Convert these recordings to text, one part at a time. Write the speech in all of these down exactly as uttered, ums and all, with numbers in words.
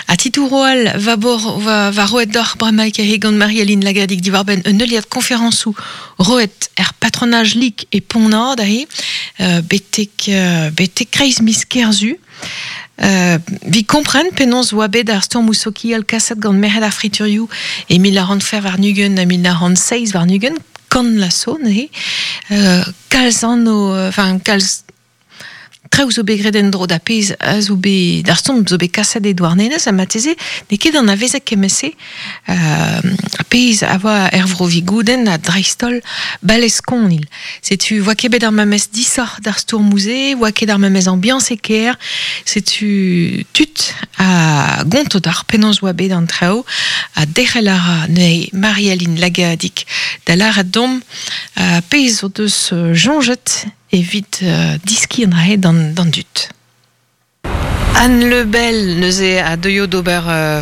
A titouro al va, bor, va, va roet d'or bremaik e gant Marie-Aline Lagadig diwar-benn un heuliad konferañsoù roet er patronaj lik e Pont-Nord ahe, euh, betek, euh, betek kreiz miz Kerzu. Euh, vi kompren penaos oa bet ar stourmoù sokial kaset gant merc'hed ar friturioù e mil nav c'hant fer warn-ugent ha mil nav c'hant seizh warn-ugent, kan la so neuze. Euh, kalz anv, enfin kalz traoù zo bet graet en-dro da pezh a zo bet d'ar stourm zo bet kaset e Douarnenez ha marteze n'eo ket anavezet kement-se euh, a pezh a oa er vro Vigoudenn ha dreist-holl Baleskonil. Setu oa ket bet ar memes disoc'h d'ar stourmoù-se, oa ket ar memes ambiañs e kêr, setu tud a gonto d'ar penaos oa bet an traoù ha derc'hel a ra neuze Marie-Aline Lagadig da lâret domp uh, pezh o deus euh, soñjet evit euh, diskiñ an dra-se d'an, d'an dud. Anne Lebel neuze a deuio d'ober euh,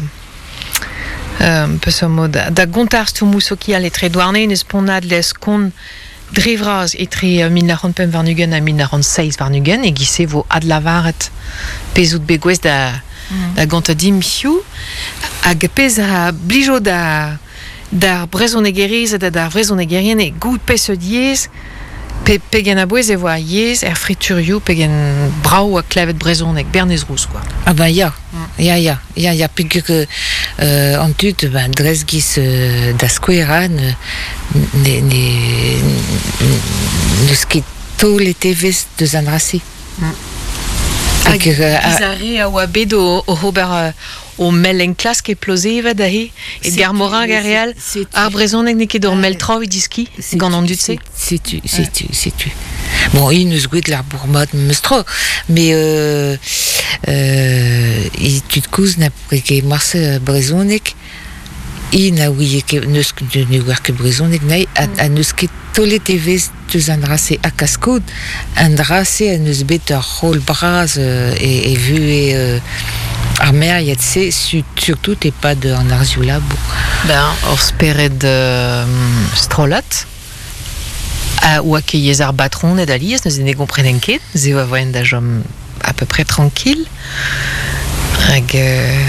euh, peseurt mod da gontañ ar stourmoù sokial etre Douarnenez Pont-Nad Leskon dre vras etre euh, mil nav c'hant pemp warn-ugent ha mil nav c'hant seizh warn-ugent e giz-se vo adlavaret pezh out bet gouest da, mm. da gontañ dimp hiziv hag pezh a blijo da d'ar brezhonegerezed ha d'ar vrezhonegerien e goût peseurt yezh pe, pegen a-bouez e vo ar yezh er friturioù pegen brav a klevet brezhoneg Bernez Rouz quoi. Ah ben ya, ya, ya, ya, ya, peogwir euh, an tud, ben, dres giz euh, da skouer ne, ne, ne, n'eus ket taolet evezh deus an dra-se. Hag Hag, euh, giz ar re a oa bet o, o ober euh, o mell enklask e Plozeved aze, e Garmorin hag ar re all, ar brezhoneg n'eo ket ur mell tra evit diski gant an dud-se. Setu, setu, setu. Bon, int eus gwet ar bourmad meus tro, mais euh, euh, e tud koz na ket marse brezhoneg, i na ouie ket, neus ne oar ket brezhoneg nae, a, a neus ket taolet evezh deus an dra-se ha kaskoud, an dra-se a neus bet ur rol bras euh, e, e vuhez euh, ar meriad-se, su, surtout e-pad an harzioù labour. Ben, ur spered euh, strollad, a oa ket yezh ar batroned alies, neuze ne gomprenen ket, ze oa voen da chom à peu près tranquille. Hag euh,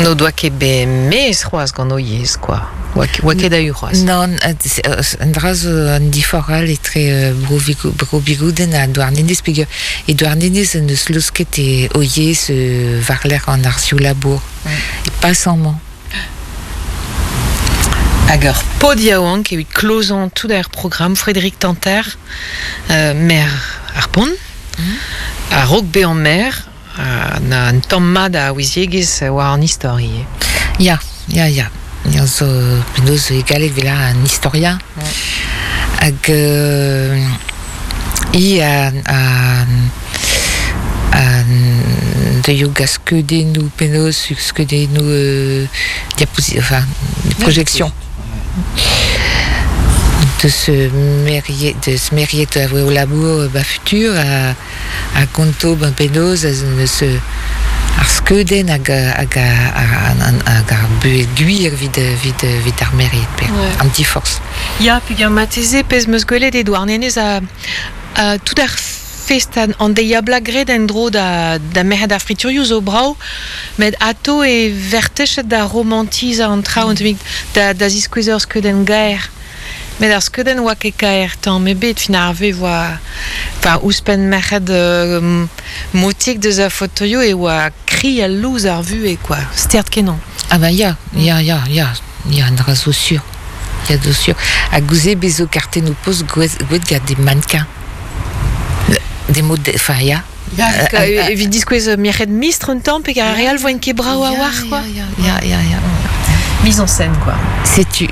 n'o doa ket bet mez c'hoazh gant o yezh, quoi. Oa ket, oa ket a-u c'hoazh. Non, an dra zo an diforc'h all etre euh, bro Vigou- bro Bigouden ha Douarnenez, peogwir e Douarnenez an eus laosket e o yezh euh, war-lerc'h an harzioù labour. E pas amañ. Hag ur pod yaouank evit klozañ tout ar programm Frédéric Tanter, euh, maer ar Pont, a-raok bezañ maer, euh, na un tamm mat a ouiziegezh war an istor ivez. Ya, ya, ya. Ya zo penaos e galleg 'vel an historien. Hag euh, i a, a, a deuio gant skeudennoù penaos skeudennoù euh, diaposi, enfin, projection. De se meriet, de se meriet a voe o labour ba futur a, a konto ben penaos a neus ar skeudenn hag hag hag hag ar buhez gwir evit evit evit ar meriet pe Ouais. an diforc'h. Ya, peogwir marteze pezh 'm eus gwelet e Douarnenez a, a tout ar fest an, an deiz-ha-bloaz graet en-dro da, da merc'hed ar friturioù zo brav, met ato e vertechet da romantizañ an traoù, mm. da, da ziskouez ur skeudenn gaer. Met ar skeudenn oa ket kaer tamm ebet, fin ar vez oa... Enfin, ouzhpenn merc'hed euh, motik deus ar fotoioù e oa kri al louz ar vuhez, quoi. Stert kenañ. Ah ben ya, ya, ya, ya, ya, an dra zo sur. Ya zo sur. Hag gouze bezo kartennoù post gwet, gwet gant des mannequins. Des modèles, enfin ya. Ya, Euh, evit diskouez merc'hed mistr un tamm pe ar re all voent ket brav a-walc'h, quoi. Ya, ya, ya, ya. Mise en scène, quoi. Setu.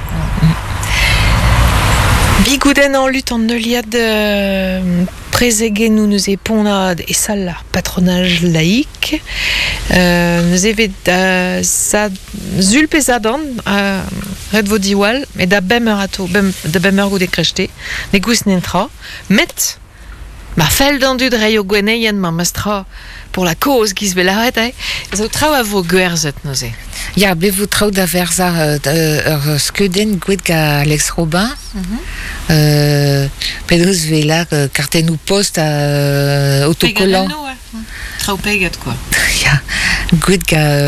Bigoudenn en lutte an heuliad euh, prezegennoù neuze Pont-Nad e sal ar patronaj laïque. Euh, neuze evet da za, sul pe zadorn, euh, ret vo diwall, met da bemp eur ato, bem, da bemp eur goude krechte, ne goust netra, met ma fell d'an dud reiñ o gwenneien ma mestra pour la cause giz 'vez lâret, eh, zo traoù a vo gwerzhet neuze. Ya, bet vo traoù da verzañ euh, ur skeudenn gwet gant Alex Robin. Euh, penaos 'vez lar euh, kartennoù post a euh, autocollant. Traoù peget, quoi. Ya, gwet gant